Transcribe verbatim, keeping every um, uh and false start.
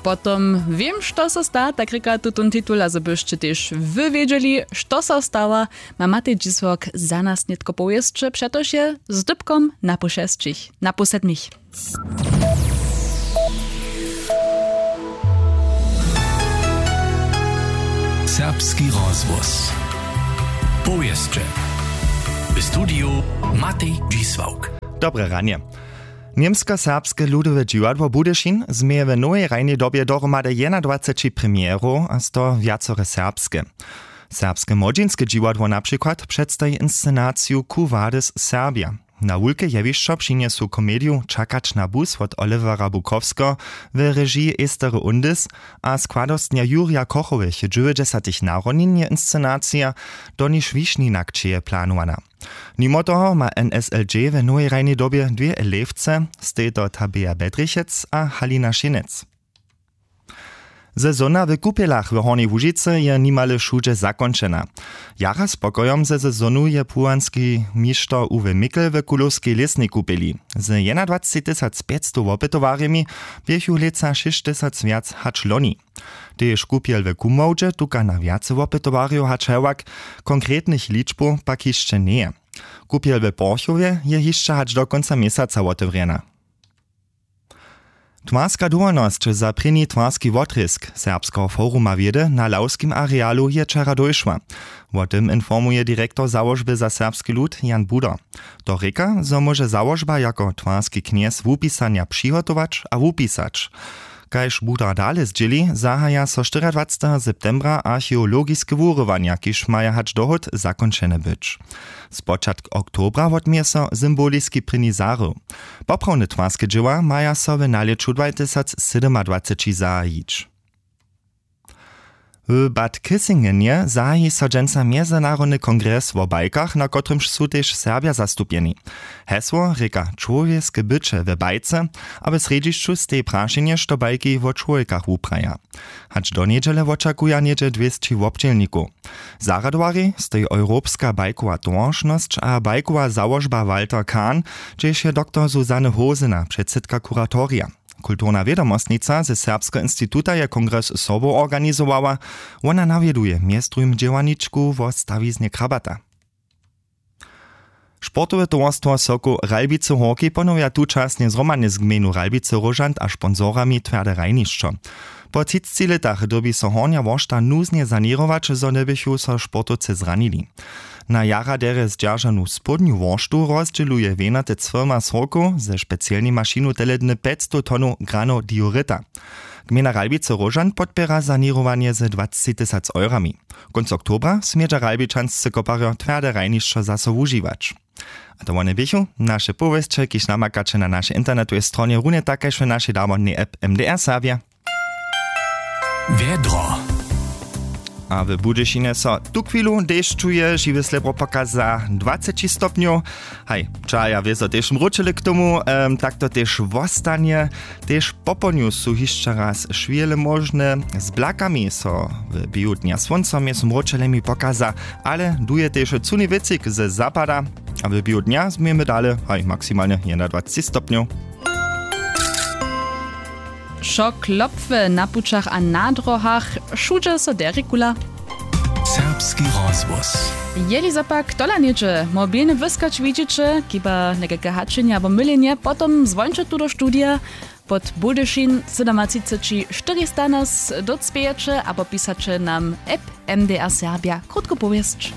Potom wěm što so sta, tak rěka tutón titul, a zo byšće tež wy wědźeli što so stawa, ma Matej Dźisławk za nas nětko powěsće, přetož je z dypkom na pół šesćich, na pół sedmich. Serbski rozhłos. Powěsće. W studiju Matej Dźisławk. Dobre ranje. Němskoserbske ludowe dźiwadło Budyšin změje w nowej hrajnej dobje dohromady jedynadwaceći premjerow a z toho wjacore serbske. Serbske młodźinske dźiwadło na přikład předstaji inscenaciju Quo vadis Serbia. Na wulke jewišćo přinjesu komediju Čakać na bus wot Olivera Bukowskeho w režiji Estery Undis a składostnja Jurja Kochowych dźewjećdźesatych narodnin je inscenacija, do niž Wišninak ćeje planowana. Nimo toho ma N S L J w nowej hrajnej dobje dwě elewce, stej to Tabea Bedrichec a Halina Šinec. Sezona w kupjelach w Hornjej Łužicy je nimale wšudźe zakónčena. Jara spokojom ze sezonu je płuwanski mišter Uwe Mikl w Kulowskej lěsnej kupjeli. Z jedynadwaceći tysac pjećstow wopytowarjemi běchu lětsa šěsć tysac wjac hač loni. Tež kupjel w Kumowdźe tuka na wjace wopytowarjow hač hewak, konkretnych ličbow pak hišće njeje. Kupjel w Porchowje je hišće hač do kónca měsaca wotewrjena. Twarska dowolnosć za prěni twarski wotrězk Serbskeho foruma wědy na Lawskim arealu je wčera dóšła. Wo tym informuje direktor załožby za serbski lud Jan Budo. To rěka, zo móže załožba jako twarski knjez wupisanja přihotować a wupisać. Kaž Budo dale zdźěli, zahaja so štyriadwaceteho septembra archeologiske wurywanja, kiž maja hač dohód zakónčene być. Spočatk oktobra wotměje so symboliski prěni zaryw. Poprawne twarske dźěła maja so w nalěću dwajtysac sydomadwaceći zahajić. W Bad Kissingenje zahaji so dźensa mjezynarodny kongres wo bajkach, na kotrymž su tež Serbja zastupjeni. Hesło rěka Čłowjeske byće w bajce, a w srjedźišću steji prašenje, što bajki wo čłowjekach wupraja. Hač do njedźele wočakuja něhdźe dwěsći wobdźělnikow. Zarjadowarjej steji Europska bajkowa towaršnosć a bajkowa załožba Walter Kahn, hdźež je doktor Susanne Hosena předsydka kuratorija. Kulturna wědomostnica ze Serbskeho instituta je kongres sobow organizowała. Wona nawjeduje mjez druhim dźěłarničku wo stawiznje Krabata. Sportowe towarstwo Sokoł Ralbicy Horki ponowja tučasnje zhromadnje z gmejnu Ralbicy Róžant a sponsorami twjarde hrajnišćo. Po třicci lětach dyrbi so Hornja Woršta nuznje saněrować, zo njeběchu so sportowcy zranili. Na jara derje zdźeržanu społdnju Worštu rozdźěluje wjenatec firma Sokoł ze specielnej mašinu teledny pjećstow tonow granow diorita. Gmejna Ralbicy Róžant podpěra saněrowanje ze dwaceći tysac eurami. Kónc oktobra smědźa ralbičanscy koparjo twjarde hrajnišćo zaso wužiwać. A to wone běchu naše powěsće, kiž namakaće na našej internetowej stronje, runje tak kaž w našej damodnej app M D R Serbja. Wjedro. A w Budyšinje so tuchwilu dešćuje, žiwy slěbro pokaza dwaceći stopnjow. Haj, čaja wězo tež mróčili k tomu, em, tak to tež wostanje. Tež popołdnju su hišće raz šwěle móžne, z blakami so w běhu dnja słónco mjez mróčelemi pokaza, ale duje tež cuni wětřik ze zapada. A w běhu dnja změjemy dale, haj, maksimalnje jedynadwaceći stopnjow. Wšo klopwy na pućach a na dróhach, wšudźe so derje kula. Serbski rozhłos. Jeli zo pak tola něhdźe mobilny wyskać widźiće, chiba někajke haćenje abo mylenje, potom zwóńće tu do studija pod Budyšin sydomatřiceći štyrista nas dócpějeće abo pisaće nam app M D R Serbja krótku powěsć.